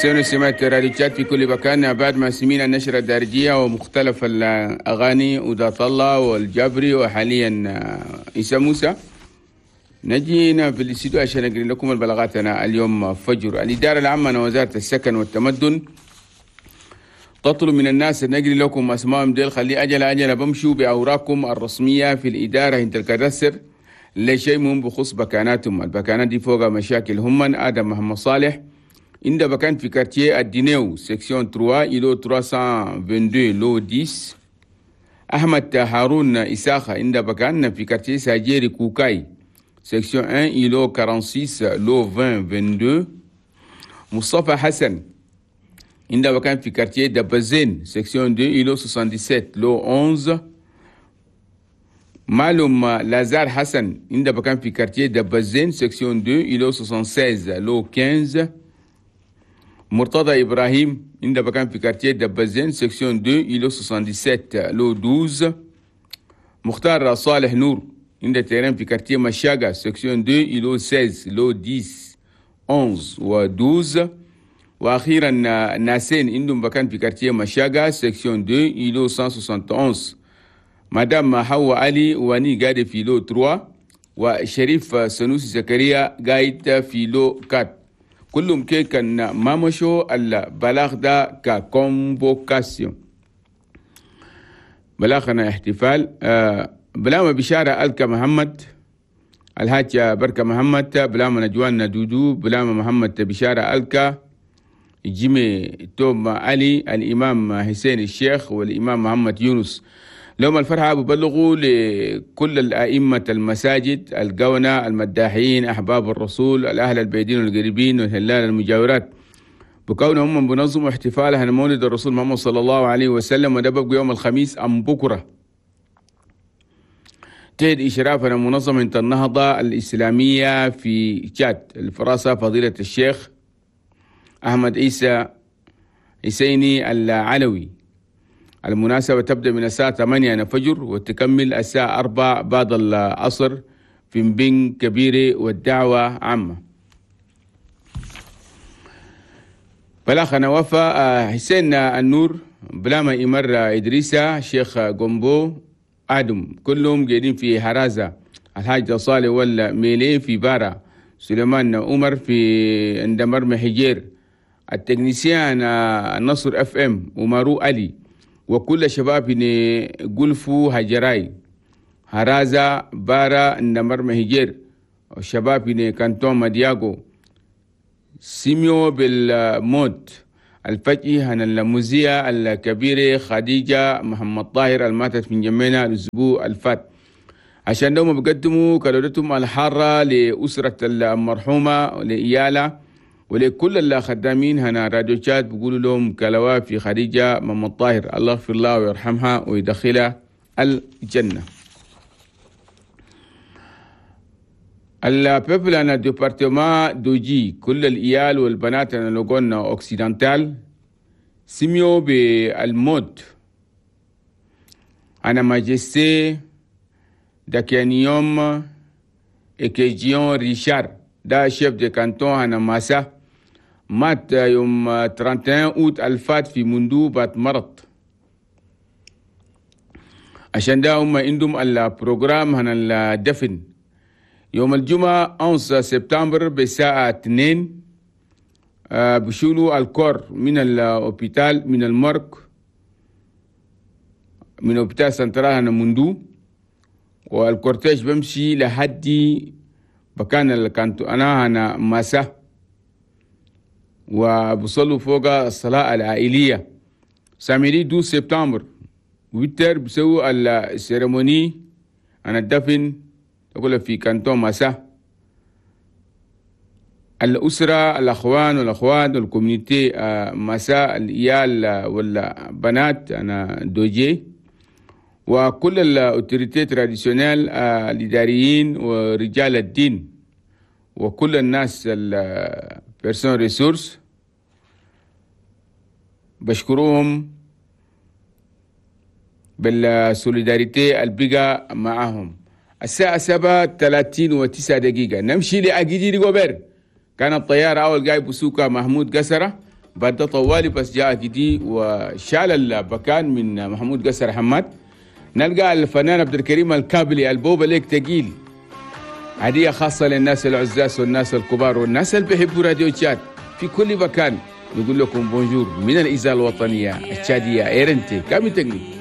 مستمعين سمعت راديو تشاد في كل مكان. بعد ما سمينا النشرة الدارجية ومختلف الأغاني ودات الله والجبري وحاليا عيسى موسى، نجي هنا في الاستوديو عشان أقرأ لكم البلاغات. أنا اليوم فجر الإدارة العامة وزارة السكن والتمدن تطلب من الناس أن نقري لكم أسمائهم ديل، خلي أجل أجل بمشوا بأوراقكم الرسمية في الإدارة انت ال cadastre لشيء مهم بخص بكاناتهم. البكانات دي فوق مشاكل. هم آدم محمد صالح عند بكان في quartier الدينيو section 3 îlot 322 lot 10. أحمد هارون إساخة عند بكان في quartier ساجيري كوكاي section 1 îlot 46 lot 20 22. مصطفى حسن عند بكان في quartier دبزين section 2 îlot 77 lot 11. معلوم لازار حسن عند بكان في quartier دبزين section 2 îlot 76 lot 15. مرتضى إبراهيم عند بكان في quartier دبزين section 2 îlot 77 lot 12. مختار صالح نور عند terrain في quartier مشاقة section 2 îlot 16 lot 10 11 و 12. وأخيرا ناسين عندهم بكان في quartier مشاقة section 2 îlot 171. مدام حوا علي واني قاعد في lot 3، وشريف سنوسي زكريا قاعد في lot 4. كلهم كي كان ما مشوا البلاغ ده ك convocation. بلاغنا احتفال بلاما بشارة ألكا محمد الحاج بركة محمد، بلاما نجوان دودو، بلاما محمد بشارة ألكا، جيمي توم علي، الإمام حسين الشيخ، والإمام محمد يونس. لهم الفرحة ببلغوا لكل الأئمة المساجد، القونة، المداحين، أحباب الرسول، الأهل البعيدين والقريبين والهلال المجاورات، بكونهم بنظموا احتفالها مولد الرسول محمد صلى الله عليه وسلم، وده بقى يوم الخميس أم بكرة. تهد إشرافنا منظمة النهضة الإسلامية في تشاد الفراسة فضيلة الشيخ أحمد عيسى حسيني العلوي. المناسبة تبدأ من الساعة 8 فجر وتكمل الساعة 4 بعد العصر في مبين كبيرة، والدعوة عامة. بلاخنا وفا حسين النور، بلاما إمر إدريسة، شيخ جومبو آدم، كلهم قاعدين في هرازة. الحاج صالح ولا ميلي في بارا، سليمان عمر في اندمر محجير، ال technicien النصر FM ومارو علي، وكل شباب قلفو هجراي هرازة بارا اندمر محجير، والشباب كانتون مدياغو سيميو بالموت الفجئ هن المذيعة الكبيرة خديجة محمد طاهر الماتت من جمينا الأسبوع الفات. عشان دوما بقدموا كلمتهم الحارة لأسرة المرحومة ولإيالة ولكل الخدامين هنا راديو تشاد، بيقولوا لهم كلوا في خديجة محمد طاهر، الله يغفر لها ويرحمها ويدخلها الجنة. ال peuple أنا département دوجي كل الإيال والبنات أنا Logone Occidental سميو بالموت. أنا majesté داكيانيوم إكيجيون ريشار دا chef de canton أنا ماسا مات يوم 31 أوت الفات في مندو بات مرض. عشان ده هم عندهم ال programme هنا الدفن يوم الجمعة 11 سبتمبر بالساعة 2 بشولوا ال corps من ال hôpital من ال morgue من hôpital central هنا مندو، وال cortège بمشي لحد بكان الكانتو أنا هنا ماسا، وبصلوا فوق الصلاة العائلية. samedi 12 سبتمبر ويتر بسووا ال cérémonie أنا الدفن تقول في كانتون ماسا. الأسرة الأخوان والأخوات وال communauté ماسا الإيال والبنات أنا دوجي، وكل ال autorités traditionnelles الإداريين ورجال الدين وكل الناس ال personnes ressources بشكرهم بال solidarité البقى معهم. الساعة 7:39 نمشي لأجيدي ريغوبير. كانت الطيارة أول جاي بسوكا محمود قسرة، بعد ده طوالي بس جاء كدي وشال البكان من محمود قسر حماد. نلقى الفنان عبد الكريم الكابلي البوبة ليك تقيل، هدية خاصة للناس العزاز والناس الكبار والناس اللي بيحبوا راديو تشاد في كل مكان. نقول لكم bonjour من الإذاعة الوطنية التشادية RNT كامل تقلي.